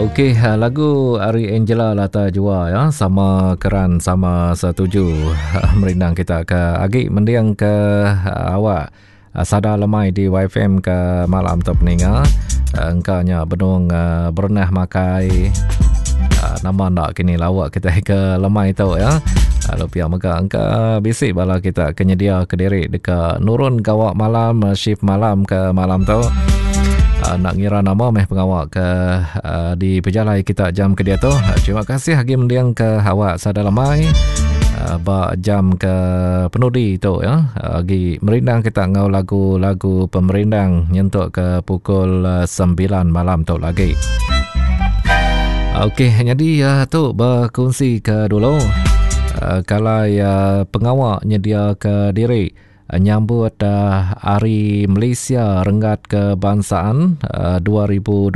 Okey, lagu ari Angela Lata Jua ya, sama keran sama setuju merindang kita ke agi mending ke awak sada lemai di YFM ke malam tu peninga. Engka nya benung berenah makai nama enda kini lawak kita ke lemai tu ya. Lalu pia mega engka bisi bala kita ke nyedia ke diri deka nurun gawa malam shift malam ke malam tu. Uh, nak ngira nama meh pengawa ke uh, di pejalai kita jam ke dia tu. Uh, terima kasih agi mending ke awak sada lemai uh, ba jam ke penudi tu ya. Uh, agi merindang kita ngau lagu-lagu pemerindang nyentuk ke pukul uh, 9 malam tu lagi. Okey, jadi uh, tu berkongsi ke dulu. Uh, kalau uh, pengawa nyedia ke diri nyambut Hari Malaysia Renggat Kebangsaan 2026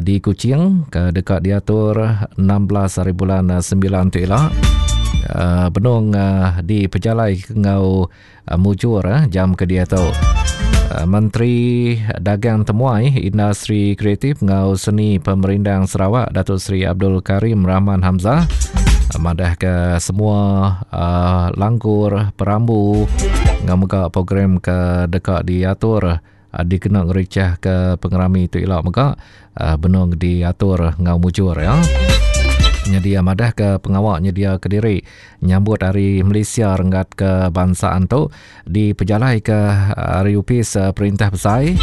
di Kuching ke deka diatur 16 hari bulan 9 tu ila benung dipejalai enggau mujur jam ke diatu. Menteri Dagang Temuai, Industri Kreatif enggau Seni Pemerindang Sarawak Datuk Seri Abdul Karim Rahman Hamzah madah ke semua uh, langgur perambu enggau mega program ke deka diatur uh, dikena ngericah ke pengerami tu ila mega uh, benung diatur enggau mujur ya. Nyedia madah ke pengawa nyedia ke diri nyambut hari Malaysia renggat kebangsaan tu dipejalai ke ari opis perintah besai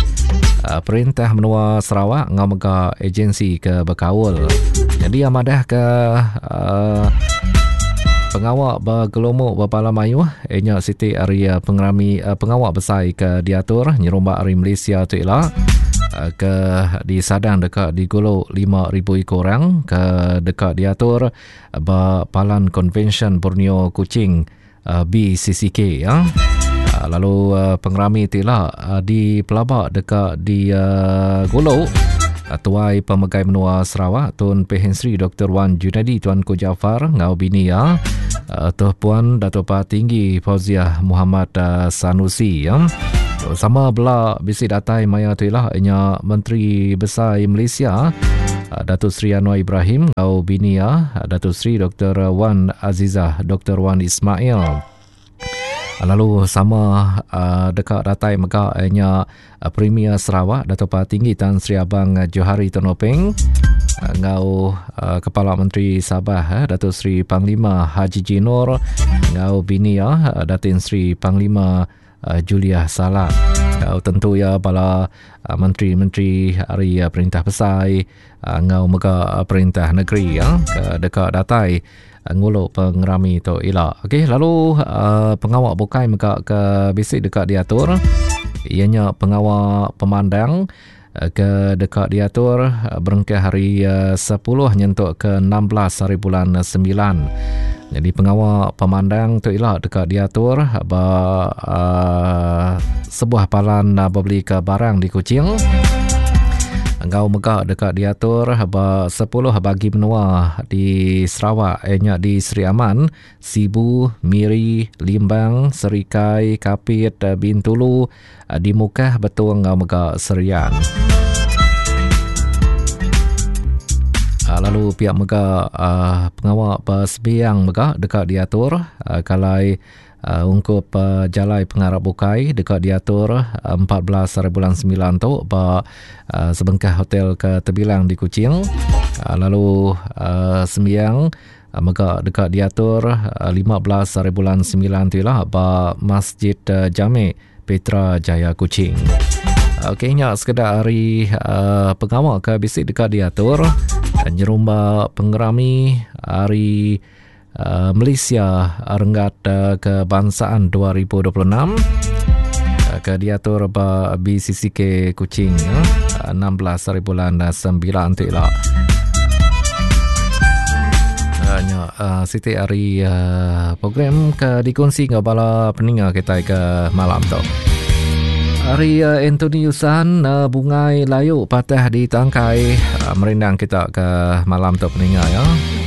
perintah menua Sarawak enggau mega agensi ke bekaul. Jadi iya madah ke uh, pengawa begelumu bepala mayuh inya siti ari pengerami uh, pengawa besai ke diatur nyerumba ari Malaysia tu ila ke disadang deka digulu 5000 iku orang ke deka diatur ba Palan Konvensyen Borneo Kuching BCCK ya. Lalu pengerami ti ila dipelaba deka digulu Tuai Pemegai Menua Sarawak Tun Pehin Sri Dr. Wan Junaidi Tuanku Jaafar enggau bini iya Tuh Puan Datuk Patinggi Fauziah Muhammad Sanusi ya. Sama bela bisi datai maya tu ila inya Menteri Besai Malaysia Datuk Seri Anwar Ibrahim enggau bini iya Datuk Seri Dr. Wan Azizah Dr. Wan Ismail. Lalu sama uh, deka datai mega inya uh, Premier Sarawak Datuk Patinggi Tan Sri Abang Johari Tun Openg enggau uh, Kepala Menteri Sabah eh, Datuk Seri Panglima Hajiji Noor enggau bini iya Datin Seri Panglima Juliah Salat. Enggau tentu iya bala menteri-menteri ari perintah besai enggau mega perintah negeri ya ke deka datai ngulu pengerami tu ila. Okey lalu pengawa bukai mega ke bisi deka diatur iya nya pengawa pemandang ke deka diatur berengkah hari 10 nyentuk ke 16 hari bulan 9. Jadi pengawa pemandang tu ila deka diatur ba uh, sebuah palan uh, bebeli ke barang di Kuching. Enggau mega deka diatur ba 10 bagi menua di Sarawak ianya di Sri Aman, Sibu, Miri, Limbang, Serikai, Kapit, Bintulu, Di Mukah, Betong enggau mega Serian. Lalu pia mega pengawa besembiang mega deka diatur kalai ungkup jalai pengarap bukai deka diatur 14 hari bulan 9 tu ba sebengkah hotel ke tebilang di Kuching. Lalu sembiang mega deka diatur 15 hari bulan 9 tu ila ba Masjid Jamek Petra Jaya Kuching. Okey nya sekeda ari uh, pengawa ke bisi deka diatur nyerumba pengerami hari uh, Malaysia renggat uh, kebangsaan 2026 uh, ke diatur ba BCCK Kuching uh, 16 hari bulan 9 tu ila. Uh, nya uh, siti ari uh, program ke dikongsi enggau bala peninga kitai ke malam tu. Ari uh, Anthony Yusan uh, Bungai Layu patah di tangkai uh, merindang kita ke malam tu peninga ya.